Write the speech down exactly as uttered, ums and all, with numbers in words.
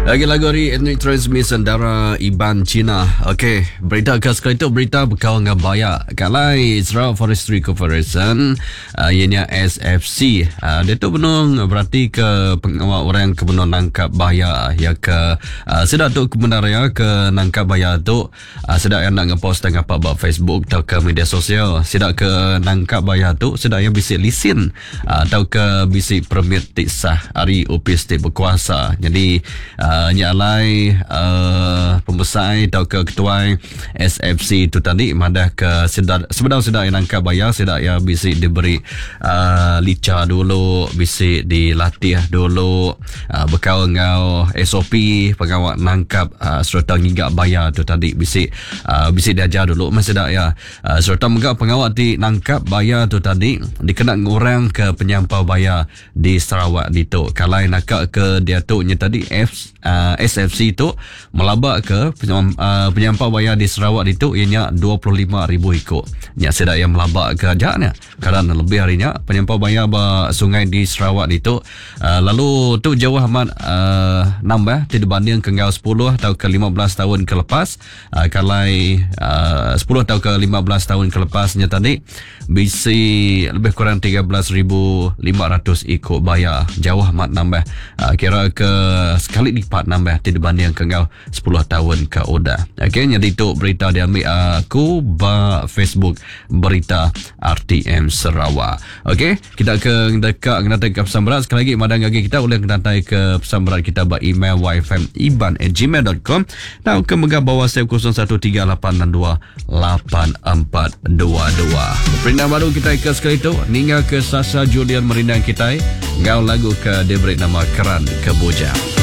Lagi lagu ari Ethnic Transmission Dara Iban Cina. Okey, berita ke sekali tu berita bekau dengan baya. Kalai Sarawak Forestry Corporation, uh, ianya S F C. Uh, dia tu benung berarti ke pengawal orang ke benung nangkap baya ya ke uh, sedak tu kebenarannya ke nangkap baya tu uh, sedak yang nak ngepost tengah apa ba Facebook atau ke media sosial. Sedak ke nangkap baya tu sedak yang bisi lisin uh, atau ke bisi permit tik sah ari opis tik berkuasa. Jadi uh, Uh, nyalai uh, pembesar atau ke ketua S F C tu tadi madah ke sedar sebenar sedar yang nangkap bayar sedar yang bisi diberi uh, lica dulu, bisi dilatih dulu uh, bekal ngau S O P pengawal nangkap uh, serta ngigak bayar tu tadi bisi uh, bisi diajar dulu masih dak ya uh, serta mega pengawal ti nangkap bayar tu tadi dikena ngurang ke penyampau bayar di Sarawak ditu. Kalai nakak ke dia tu nya tadi F Uh, S F C tu melabak ke penyam, uh, penyampau bayar di Sarawak itu ianya dua puluh lima ribu ikut. Nya sedak yang melabak ke ajaknya. Kadang lebih harinya penyampau bayar ba sungai di Sarawak itu uh, lalu tu jauh amat uh, nambah tidak banding ke ngau sepuluh atau ke lima belas tahun ke lepas. Uh, kalai uh, sepuluh atau ke lima belas tahun ke lepasnya tadi bisi lebih kurang tiga belas ribu lima ratus ikut bayar. Jauh amat nambah. Uh, kira ke sekali lipat nambah tidak banding ke ngau sepuluh tahun ke udah. Okey, jadi itu berita diambil aku ba Facebook berita R T M Sarawak. Okey, kita ke dekat kena ke pesan berat sekali lagi madang lagi kita boleh kena ke pesan berat kita ba email y f m iban at gmail dot com atau ke mega bawah save kosong satu tiga lapan enam dua lapan empat dua dua. Perintah baru kita ke sekali tu ninggal ke Sasa Julian merindang kita ngau lagu ke diberi nama Keran Kebujang.